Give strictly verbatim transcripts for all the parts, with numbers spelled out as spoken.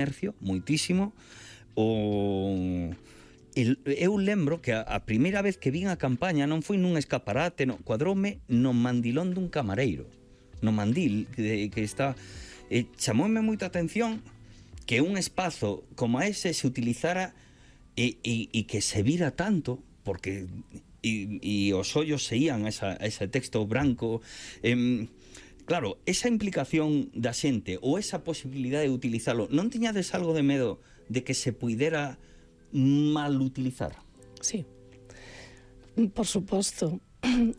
comercio, moitísimo. O... eu lembro que a, a primeira vez que vin a campaña non foi nun escaparate, no, cuadroume no mandilón dun camareiro, no mandil que, que está... Eh, chamoume moita atención que un espazo como ese se utilizara e, e, e que se vira tanto, porque e, e os ollos se ían a, esa, a ese texto branco. Eh, claro, esa implicación da xente ou esa posibilidade de utilizalo, non tiñades algo de medo de que se puidera mal utilizar? Sí, por suposto.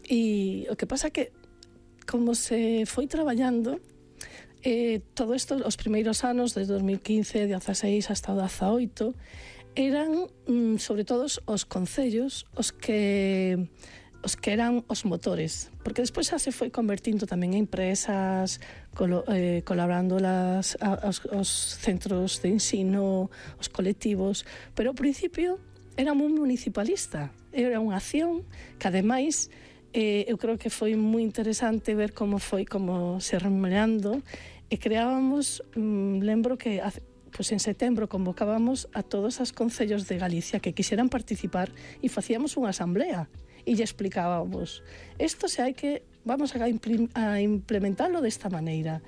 E o que pasa que como se foi traballando eh, todo isto, os primeiros anos desde dos mil quince, dieciséis hasta o dezaoito, eran mm, sobre todo os concellos os que os que eran os motores, porque despois xa se foi convertindo tamén en empresas, colo, eh, colaborando las, a, os, os centros de ensino, os colectivos, pero ao principio era moi municipalista, era unha acción que ademais eh, eu creo que foi moi interesante ver como foi, como se remunerando, e creábamos, mm, lembro que hace, pois en setembro convocábamos a todos os concellos de Galicia que quixeran participar e facíamos unha asamblea e lle explicábamos isto se hai que, vamos a, impl a implementarlo desta maneira.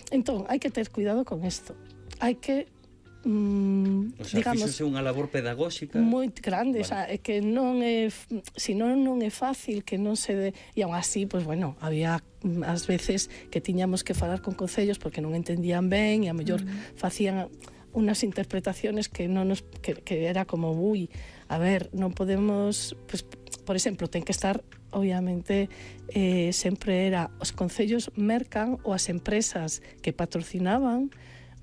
Entón, hai que ter cuidado con isto, hai que mm, o sea, digamos, fíxose unha labor pedagóxica moi grande, vale. O sea, é que non é, se non non é fácil que non se de, e aún así, pois pues, bueno, había ás veces que tiñamos que falar con concellos porque non entendían ben e a mellor mm. facían unas interpretaciones que non nos que, que era como, ui, a ver, non podemos, pues, por exemplo, ten que estar obviamente eh, sempre era os concellos mercan ou as empresas que patrocinaban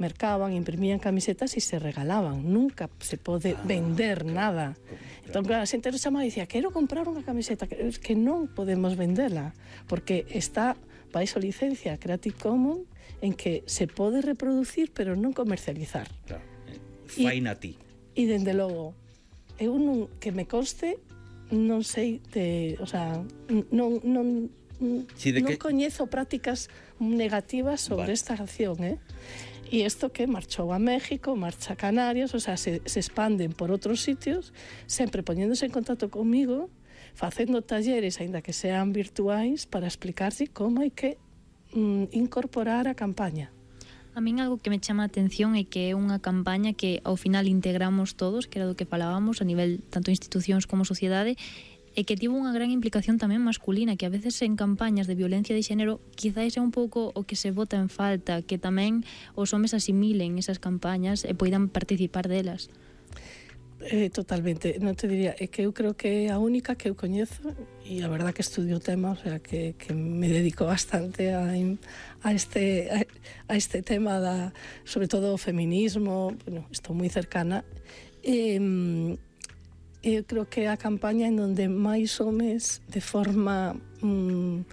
mercaban, imprimían camisetas e se regalaban, nunca se pode ah, vender claro, nada. Claro. Entón, claro, a xente nos chamaba e dicía, quero comprar unha camiseta, que, que non podemos vendela, porque está baixo licencia Creative Commons en que se pode reproducir, pero non comercializar. Claro, faina ti. E, dende logo, eu non, que me conste, non sei de, o sea, non, non, sí, de non que... coñezo prácticas negativas sobre vale. Esta acción, eh? E isto que marchou a México, marcha a Canarias, o sea, se, se expanden por outros sitios, sempre poñéndose en contacto comigo, facendo talleres, aínda que sean virtuais, para explicarse como hai que mm, incorporar a campaña. A min algo que me chama a atención é que é unha campaña que ao final integramos todos, que era do que falábamos a nivel tanto institucións como sociedade, e que tivo unha gran implicación tamén masculina, que a veces en campañas de violencia de xénero quizás é un pouco o que se bota en falta, que tamén os homes asimilen esas campañas e poidan participar delas. Eh, totalmente, non te diría, é que eu creo que é a única que eu coñezo e a verdad que estudio o tema, o sea, que, que me dedico bastante a, a, este, a, a este tema da, sobre todo o feminismo, bueno, estou moi cercana e eu creo que é a campaña en donde máis homes de forma mm,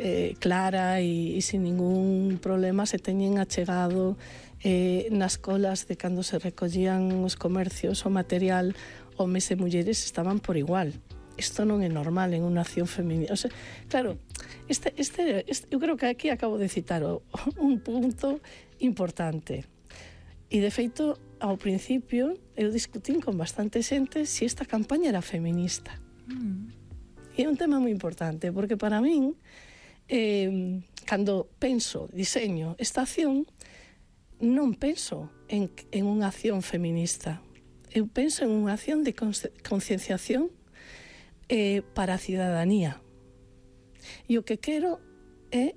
eh, clara e, e sin ningún problema se teñen achegado eh, nas colas de cando se recollían os comercios o material, homes e mulleres estaban por igual. Isto non é normal en unha acción feminina. O sea, claro, este, este, este, eu creo que aquí acabo de citar o, un punto importante. E de feito, ao principio, eu discutín con bastante xente se esta campaña era feminista. Mm. E é un tema moi importante, porque para min, eh, cando penso, diseño esta acción, non penso en, en unha acción feminista. Eu penso en unha acción de concienciación eh, para a cidadanía. E o que quero é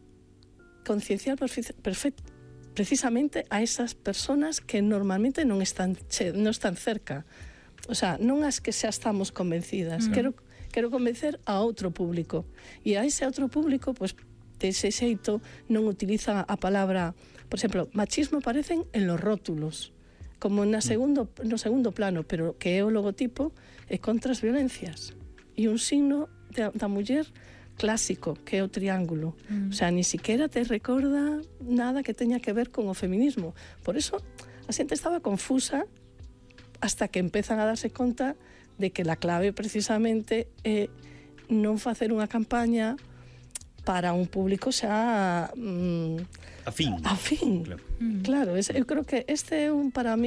concienciar perfectamente precisamente a esas personas que normalmente non están che, non están cerca. O sea, non as que xa estamos convencidas. Mm. Quero, quero convencer a outro público. E a ese outro público, pues, de ese xeito, non utiliza a palabra, por exemplo, machismo aparecen en los rótulos, como na segundo, no segundo plano, pero que é o logotipo é contra as violencias. E un signo de, da muller clásico, que é o triángulo. Mm. O sea, ni siquiera te recorda nada que teña que ver con o feminismo. Por eso, a xente estaba confusa hasta que empezan a darse conta de que la clave precisamente é non facer unha campaña para un público xa mm, afín. Afín. Claro, mm. claro es, eu creo que este é un para min